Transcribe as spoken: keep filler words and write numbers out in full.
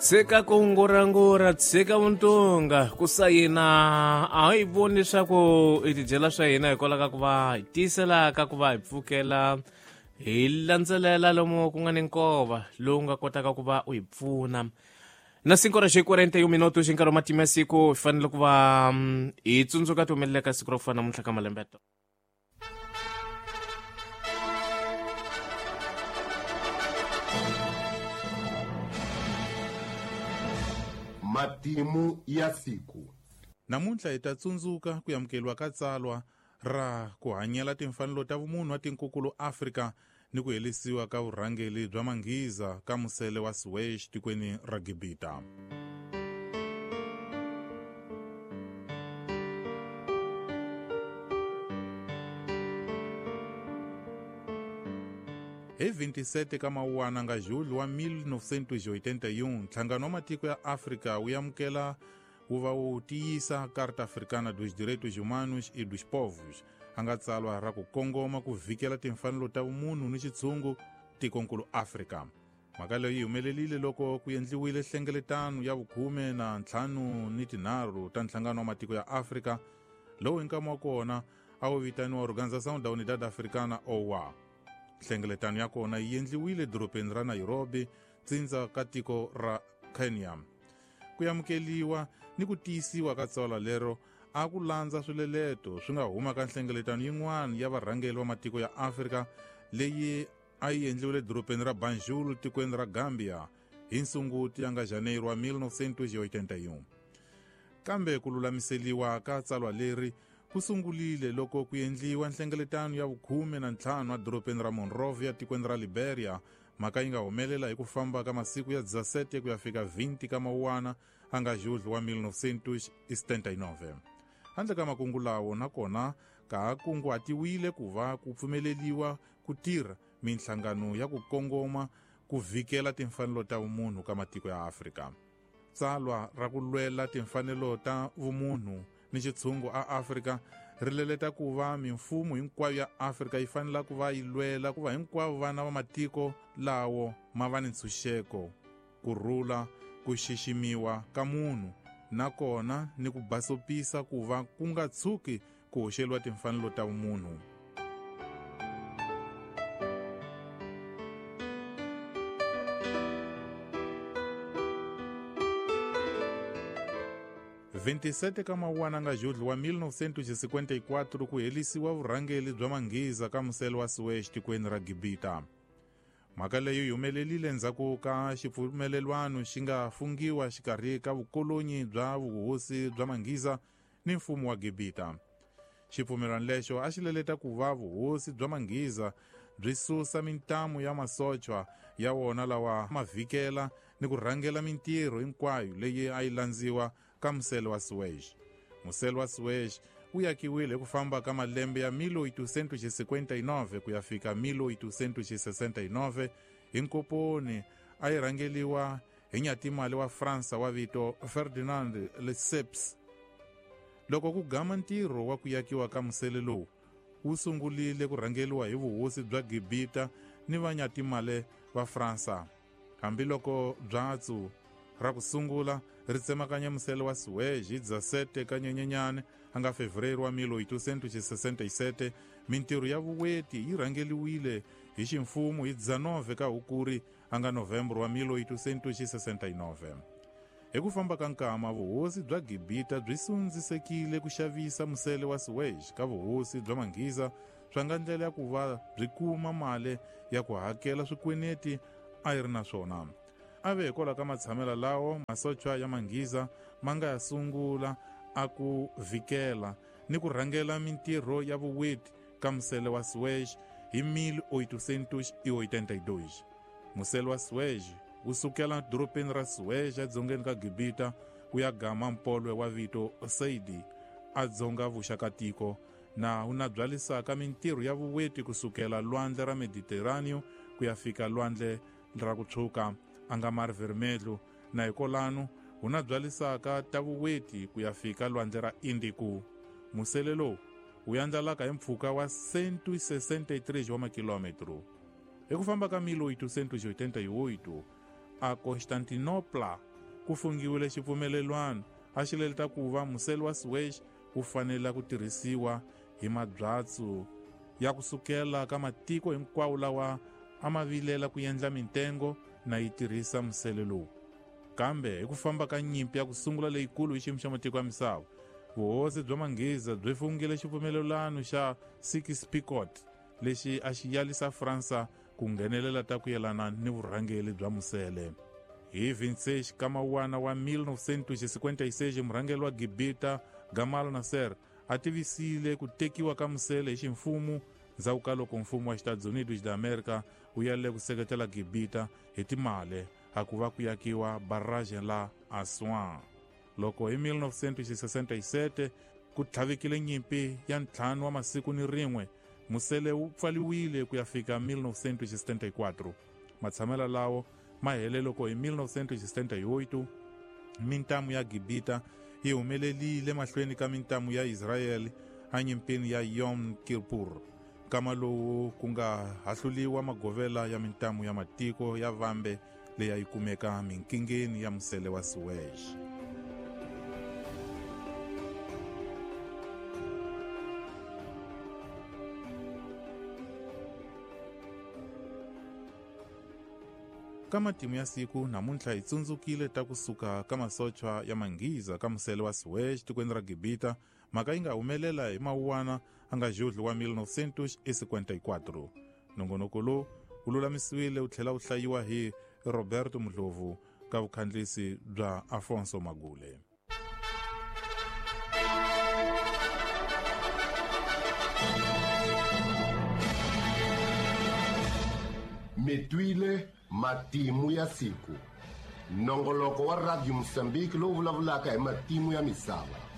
Tshika ku ngurangura, tshika vuntunga, ku sayina a hi voni leswaku i tidyela swa hina hikwalaho ka ku va hi tiyisela ka ku va hi pfukela hi landzelela lomu ku nga ni nkova lowu nga kotaka ku va u hi pfuna. Na cinco horas e quarenta e um minutos nkarhi wa matimu ya siku hi fanele ku va hi tsundzuka ti humelela ka siku ra ku fana namuntlha ka malembe. Matimu ya siku. Namuntlha hi ta tsundzuka ku amukeriwa ka tsalwa ra ku hanyela timfanelo ta vumunhu wa tinkukulu Afrika ni ku helisiwa ka vurhangeli bya Manghiza ka musele wa Suez tikweni ra Gibita. Hi vinte e sete ka Mawuwana nga julho wa mil novecentos e oitenta e um, Nhlangano wa Matiko ya Afrika wu amukela wu va wu tiyisa Carta Africana dos Direitos Humanos e dos Povos, a nga tsalwa ra ku kongoma ku vhikela timfanelo ta vumunhu ni xitshungu tikonkulu Afrika. Mhaka leyi yi humelelile loko ku endliwile nhlengeletano ya vukhume na ntlhanu ni tinharhu ta Nhlangano wa Matiko ya Afrika, lowu hi nkama wa kona a wu vitaniwa Organização da Unidade Africana, O U A. Nhlengeletano ya kona yi endliwile dorobeni ra Nairobi, tsindza ka tiko ra Kenya. Ku amukeliwa ni ku tiyisiwa ka tsalwa lero a ku landza swileleto swi nga huma ka nhlengeletano yin'wana ya varhangeri va matiko ya Afrika leyi a yi endliwile dorobeni ra Banjul tikweni ra Gambia hi Nsunguti ya nga Janeiro wa mil novecentos e oitenta e um. Kambe ku lulamiseliwa ka tsalwa leri ku sungulile loko ku endliwa nhlengeletano ya vukhume na ntlhanu edorobeni ra Monrovia tikweni ra Liberia. Mhaka yi nga humelela hi ku famba ka masiku ya dezessete ku ya fika vinte ka Mawuwana a nga julho wa mil novecentos e setenta e nove. Handle ka makungu lawo nakona ka ha kunguhatiwile ku va ku pfumeleliwa ku tirha minhlangano ya ku kongoma ku vhikela timfanelo ta vumunhu ka matiko ya Afrika. Tsalwa ra ku lwela timfanelo ta vumunhu ni xitshungu a Afrika ri leleta ku va mimfumo hinkwayo ya Afrika yi fanele ku va yi lwela ku va hinkwavo vana va matiko lawo ma va ni ntshunxeko, ku rhula, ku xiximiwa ka munhu nakona ni ku basopisa ku va ku nga tshuki ku hoxeliwa timfanelo ta vumunhu. vinte e sete ka Mawuwana nga julho wa mil novecentos e cinquenta e quatro ku helisiwa vurhangeli bya Manghiza ka musele wa Suez tikweni ra Gibita. Mhaka leyi yi humelelile endzhaku ka xipfumelelwano xi nga fungiwa xikarhi ka vukolonyi bya vuhosi bya Manghiza ni mfumo wa Gibita. Xipfumelwano lexo a xi leleta ku va vuhosi bya Manghiza byi susa mintamu ya masochwa ya wona lawa ma vhikela ni ku rhangela mintirho hinkwayo leyi a yi landziwa ka musele wa Suez. Musele wa Suez wu yakiwile hi ku famba ka malembe ya mil oitocentos e cinquenta e nove ku ya fika mil oitocentos e sessenta e nove hi nkoponi a yi rhangeliwa hi nyatimali wa Fransa wa vito Ferdinand Lesseps. Loko ku gama ntirho wa ku yakiwa ka musele lowu wu sungulile ku rhangeliwa hi vuhosi bya Gibita ni vanyatimale va Fransa. Hambiloko byatsu ra ku sungula ri tsemakanya musele wa Suez hi dezessete ka Nyenyenyane a nga Fevereiro wa mil oitocentos e sessenta e sete, mintirho ya vuweti yi rhangeliwile hi ximfumo hi dezenove ka Hukuri a nga Novembro wa mil oitocentos e sessenta e nove. Hi ku famba ka nkama vuhosi bya Gibita byi sundzisekile ku xavisa musele wa Suez ka vuhosi bya Manghiza swa nga ndlela ya ku va byi kuma mali ya ku hakela swikweneti a yi ri na swona. A ve hikwalaho ka matshamelo lawo masochwa ya Manghiza ma nga ya sungula a ku vhikela ni ku rhangela mintirho ya vuweti ka musele wa Suez hi mil oitocentos e oitenta e dois. Musele wa Suez wu sukela dorobeni ra Suez edzongeni ka Gibita ku ya gama mpolwe wa vito Saidi a dzonga vuxa ka tiko na wu na byalisaka mintirho ya vuweti kusukela lwandle ra Mediterraneo ku ya fika lwandle ra ku tshwuka a nga Mar Vermelho na hikolano hu na byalisaka ta vuweti ku ya fika lwandle ra Indiku. Musele lowu wu yandlalaka hi mpfhuka wa cento e sessenta e três wa makilometro. Hi ku famba ka mil oitocentos e oitenta e oito a Constantinopla ku fungiwile xipfumelelwano a xi leleta ku va musele wa Suez wu fanela ku tirhisiwa hi mabyatsu ya kusukela ka matiko hinkwawo lawa a ma vilela ku endla mintengo na yi tirhisa musele lowu. Kambe hi ku famba ka nyimpi ya ku sungula leyikulu hi xiyimo xa matiko ya misava, vuhosi bya Manghiza byi fungile xipfumelelano xa Sykes-Picot lexi a xi yalisa Fransa ku nghenelela ta ku yelana ni vurhangeri bya musele. Hi vinte e seis ka Mawuwana wa mil novecentos e cinquenta e seis, murhangeri wa Gibita Gamal Nasser a tivisile ku tekiwa ka musele hi ximfumo ndzhaku ka loko mfumo wa Estados Unidos da America wu yalele ku seketela Gibita hi timali a ku va ku yakiwa barrage la Aswan. Loko hi mil novecentos e sessenta e sete ku tlhavekile nyimpi ya ntlhanu wa masiku ni rin'we, musele wu pfaliwile ku ya fika mil novecentos e setenta e quatro. Matshamelo lawo ma hele loko hi mil novecentos e setenta e oito mintamu ya Gibita yi humelelile mahlweni ka mintamu ya Israel enyimpini ya Yom Kippur, nkama lowu ku nga hahluliwa magovela ya mintamu ya matiko ya vambe leyi a yi kumeka minkingeni ya musele wa Suez. Ka matimu ya siku namuntlha hi tsundzukile ta kusuka ka masochwa ya Manghiza ka musele wa Suez tikweni ra Gibita, mhaka yi nga humelela hi Mawuwana a nga Julho wa mil novecentos e cinquenta e quatro. Nongonoko lowu wu lulamisiwile wu tlhela wu hlayiwa hi Roberto Mdlovu ka vukhandlisi bya Afonso Magule. Mi twile matimu ya siku, nongoloko wa Radio Mozambique lowu vulavulaka hi matimu ya misava.